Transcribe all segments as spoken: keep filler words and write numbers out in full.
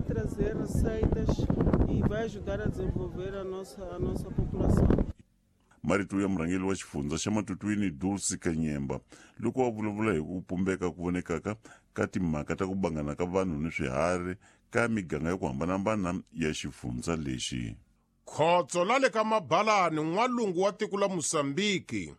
trazer receitas e vai ajudar a desenvolver a nossa, a nossa população. Marito ya murhangeri wa xifundza xa Matutuini Dulce Kanyemba loko a vulavula hi ku pumbeka ku vonekaka ka timhaka ta ku bangana ka vanhu ni swiharhi ka miganga ya ku hambanahambana ya xifundza lexi. Khotso la le ka Mabalani n'walungu wa tiko la Mozambique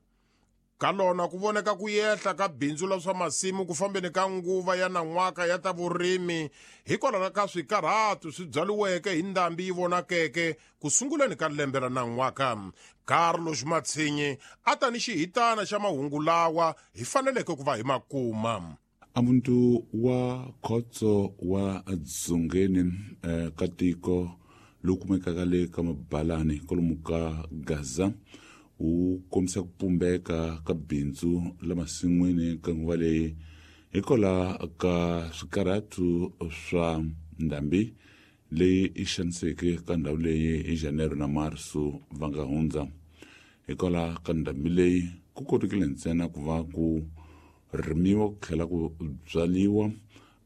ka lona ku voneka ku yehla ka bindzu la swa masimu ku fambeni ka nguva ya nan'waka ya ta vurimi hikwalaho ka swikarhatu swi byariweke hi ndhambi yi vonakeke ku sunguleni ka lembe ra nan'waka. Carlos Matsinyi a ta ni xihitana xa mahungu lawa hi faneleke ku va hi makuma. Amuntu wa khotso wa Dzongeni eh, ka tiko lowu kumekaka le ka Mabalani kwalomu ka Gaza wu kombisa ku pumbeka ka bindzu la masin'wini ka nguva leyi hikwalaho ka swikarhatu swa ndhambi leyi i xaniseke ka ndhawu leyi hi Janeiro na Marso va nga hundza. Hikwalaho ka ndhambi leyi ku kotekile ntsena ku va ku rimiwa ku tlhela ku byariwa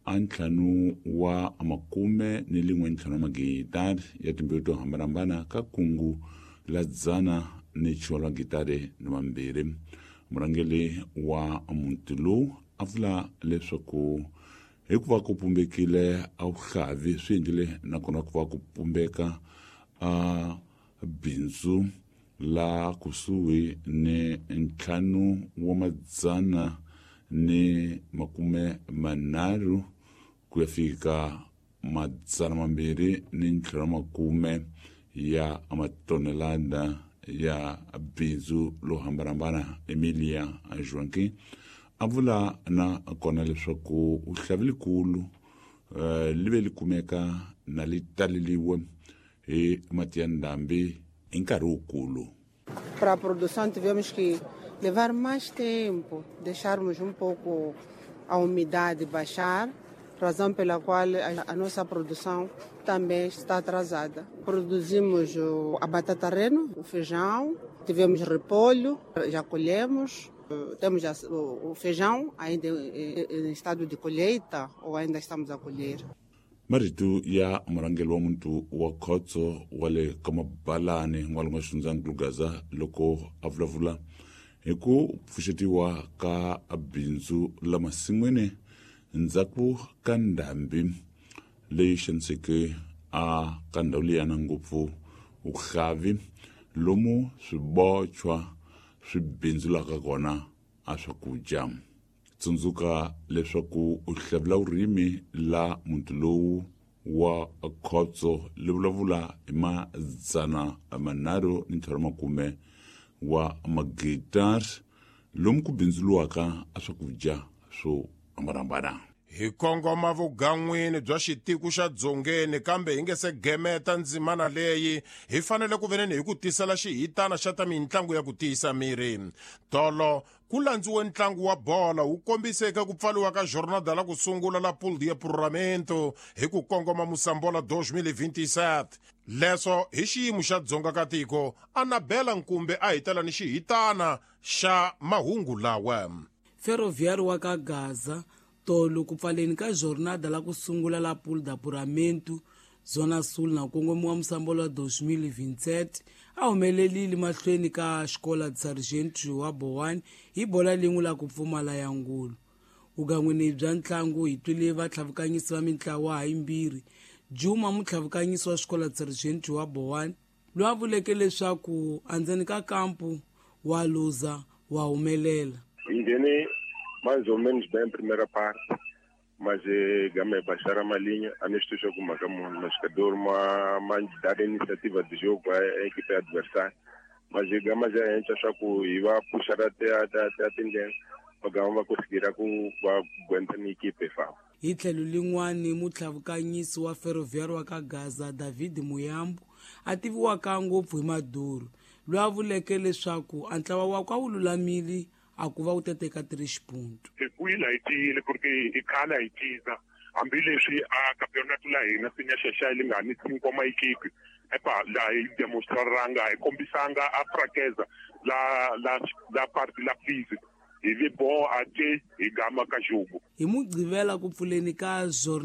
a ntlhanu wa makume ni lin'we ntlhanu wa magidari ya timbewu to hambanahambana ka kungu la dzana ni chiwalo gitare ni mambirhi. Murhangeri wa muti lowu a vula leswaku hikuva ku pumbekile a vuhlavi swi endlile nakona ku va ku pumbeka a bindzu la kusuhi ni ntlhanu wa madzana ni makume manharhu ku ya fika madzana mambirhi ni ntlhanu wa makume ya matonelada ya bindzu lo hambanahambana. Emilia Joaquim a vula na kona leswaku uhlavi likulu uh, li ve li kumeka na li taleliwe hi mati ya ndhambi hi nkarhi wukulu. Para a produção tivemos que levar mais tempo, deixarmos um pouco a umidade baixar, razão pela qual a nossa produção também está atrasada. Produzimos a batata reno, o feijão, tivemos repolho, já colhemos, temos o feijão ainda em estado de colheita ou ainda estamos a colher. Marito ya murhangeri wa muntu wa khotso wa le ka Mabalani n'walungu wa xifundzankulu Gaza loko a vulavula hi ku pfuxetiwa ka bindzu la masin'wini ndzhaku ka ndhambi leyi xaniseke a ka ndhawu liyana ngopfu vuhlavi lomu swibochwa swi bindzulaka kona a swakudya. Tsundzuka leswaku u hlavula vurimi la muti lowu wa khotso li vulavula hi madzana manharhu ni ntlhanu makume wa magitari lomu ku bindzuliwaka a swakudya swo hambanahambana. Hi kongoma vugan'wini bya xitiko xa Dzongeni kambe hi nge se gemeta ndzimana leyi hi fanele ku veneni hi ku tisela xihitana xa ta mintlangu ya ku tiyisa miri. Tolo ku landziwe ntlangu wa bola wu kombiseke ku pfaliwa ka jornada la ku sungula la Pool de Apuramento hi ku kongoma Mosambola dois mil e vinte e sete. Leswo hi xiyimo xa Dzonga ka tiko Anabela Nkumbe a hi tela ni xihitana xa mahungu lawa. Ferroviário wa ka Gaza tolo ku pfaleni ka jornada la ku sungula la Pool de Apuramento Zona Sul na kongomiwa Mosambola dois mil e vinte e sete a humelelile mahlweni ka Escola de Sargento wa Bowane hi bola lin'we la ku pfumala ya ngulu. Vugan'wini bya ntlangu hi twile vatlhavukanyisi va mintlawa hayimbirhi. Juma mutlhavukanyisi wa Escola de Sargento wa Bowane loyi a vuleke leswaku endzeni ka kampu wa luza wa humelela. Hi nghene mais ou menos bem a primeira parte, mas eh, game baixar uma linha, a nós jogo uma mas jogador uma mais dar iniciativa de jogo à, à equipe adversária, mas gama já a gente acha que ia puxar até até até a tendência, mas gama vai conseguir a ku aguentar na equipe fa. Hi tlhelo lin'wani mutlhavukanyisi wa Ferroviário wa ka Gaza David Muyambo a tiviwaka ngopfu hi Maduro loyi a vuleke leswaku a ntlawa wakwe a wu lulamile a ku va wu teteka três pontos. Hi wina hi tiyile porque i khale hi ciza hambileswi a campeonato la hina sinya xexa li nga ni cinco maequipe epa la hi demonstraranga hi kombisanga a fraqueza la la la parte la física hi vi bo ate hi gama ka jogo. Hi Mugqivela ku pfuleni ka jornada